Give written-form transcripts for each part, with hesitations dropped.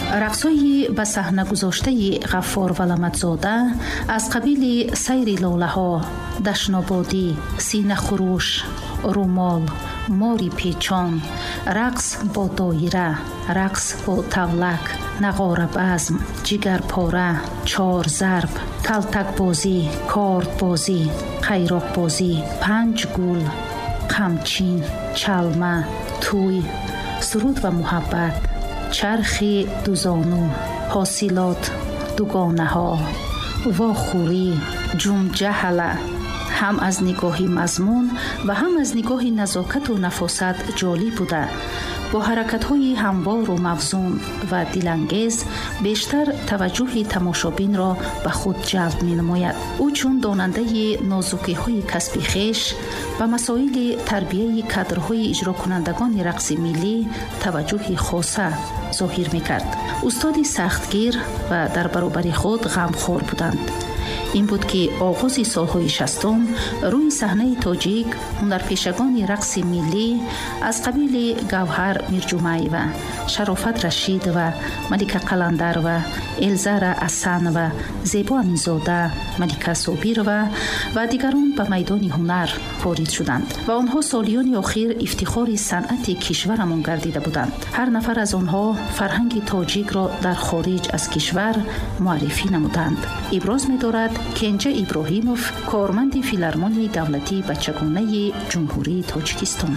Рақсҳои ба саҳна гузоштаи Ғаффор Валаматзода аз қабили сайри лолаҳо, дашнободӣ, синахуруш, румол, мори печон, рақс бо доира, рақс бо тавлак, нағорабазм, ҷигарпора, чорзарб, калтакбозӣ, кордбозӣ, қайроқбозӣ, панҷ гул, қамчин, чалма, тӯй, суруд ва муҳаббат, чархи дузону, ҳосилот, дугонаҳо, вохӯрӣ, ҷумҷаҳала ҳам аз нигоҳи мазмун ва ҳам аз нигоҳи назокату нафосат ҷолиб буда, бо ҳаракатҳои ҳамвору мавзун ва дилангез бештар таваҷҷӯҳи тамошобинро ба худ ҷалб менамояд. Ӯ чун донандаи нозукиҳои касби хеш ба масоили тарбияи кадрҳои иҷрокунандагони рақси миллӣ таваҷҷӯҳи хоса зоҳир мекард. Устоди сахтгир ва дар баробари худ ғамхор буданд. Ин буд, ки оғози солҳои 60-ум рӯи саҳнаи тоҷик ҳунарпешагони рақси миллӣ аз қабили Гавҳар Мирҷумаева, Шарофат Рашидова, Малика Қаландарова, Элзара Асанова, Зебо Аминзода, Малика Собирова ва дигарон ба майдони ҳунар ворид шуданд ва онҳо солиёни охир ифтихори санъати кишварамон гардида буданд. Ҳар нафар аз онҳо фарҳанги тоҷикро дар хориҷ аз кишвар муаррифӣ намуданд, иброз медорад Кенҷа Иброҳимов, корманди Филармонияи давлатии бачагонаи Ҷумҳурии Тоҷикистон.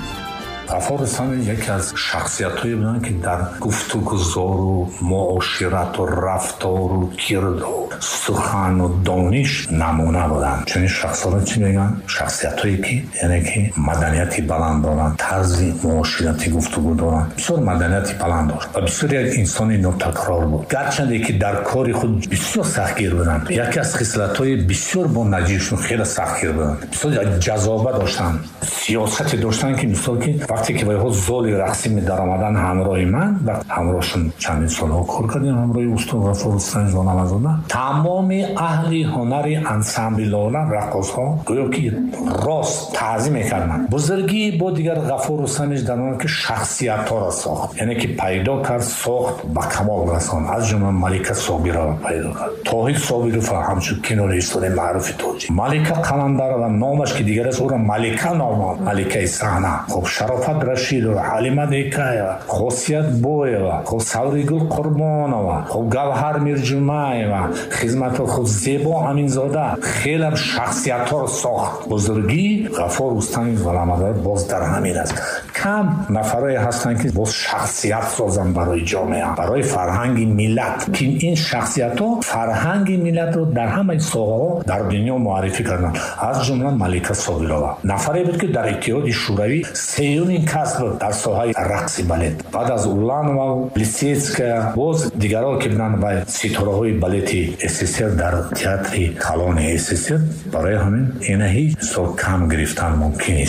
Ғаффор Рустамович яке аз шахсиятҳое буданд, ки дар гуфтугузору муоширату рафтору кирдор, сухану дониш намуна буданд. Чунин шахсҳоро чӣ мегӯянд? Шахсиятҳое ки, яъне ки, маданияти баланд доранд, тарзи муоширати гуфтугӯ доранд. Бисёр маданияти баланд дошт ва бисёр як инсони нотакрор буд, гарчанде ки дар кори худ бисёр сахтгир буданд. Яке аз хислатҳои бисёр бо наҷибшон, хеле сахтгир буданд, бисёр ҷазоба доштанд, сиёсате доштанд, ки мисол ки вақте ки вайҳо золи рақсӣ медаромаданд ҳамроҳи ман ва ҳамроҳшон чандин солҳо кор кардем, ҳамроҳи устод Ғаффор Рустамович Валаматзода, тамоми аҳли ҳунари ансамбли «Лола», раққосҳо гӯё ки рост таъзим мекарданд. Бузургии бо дигар Ғаффор Рустамович дар он, ки шахсиятҳоро сохт, яъне ки пайдо кард, сохт, ба камол расонд. Аз ҷумла Малика Собирова пайдо кард, Тоҳир Собирова, ҳамчун кинорежиссори маъруфи тоҷик, Малика Қаландарова, номаш ки дигар аст, ӯро Малика номанд, маликаи саҳна, хуб, Шарофат Рашидова, Ҳалима Декаева, Хосият Боева, хуб, Савригул Қурбонова, хуб, Гавҳар Мирҷумаева, хизмато, хуб, Зебо Аминзода, хелам шахсиятҳоро сохт. Бузургии Ғаффор Рустамович Валаматзода боз дар ҳамин аст. Кам нафарое ҳастанд, ки боз шахсият созанд барои ҷомеа, барои фарҳанги миллат, ки ин шахсиятҳо фарҳанги миллатро дар ҳамаи соҳаҳо дар дунё муаррифӣ карданд. Аз ҷумла Малика Собирова нафаре буд, ки дар Иттиҳоди Шӯравӣ сеюмин кас буд дар соҳаи рақси балет, баъд аз Уланова, Плисецкая, боз дигарон, ки буданд ва ситораҳои балети СССР дар театри калони СССР. Барои ҳамин ина ҳеҷ мисол кам гирифтан мумкин нест.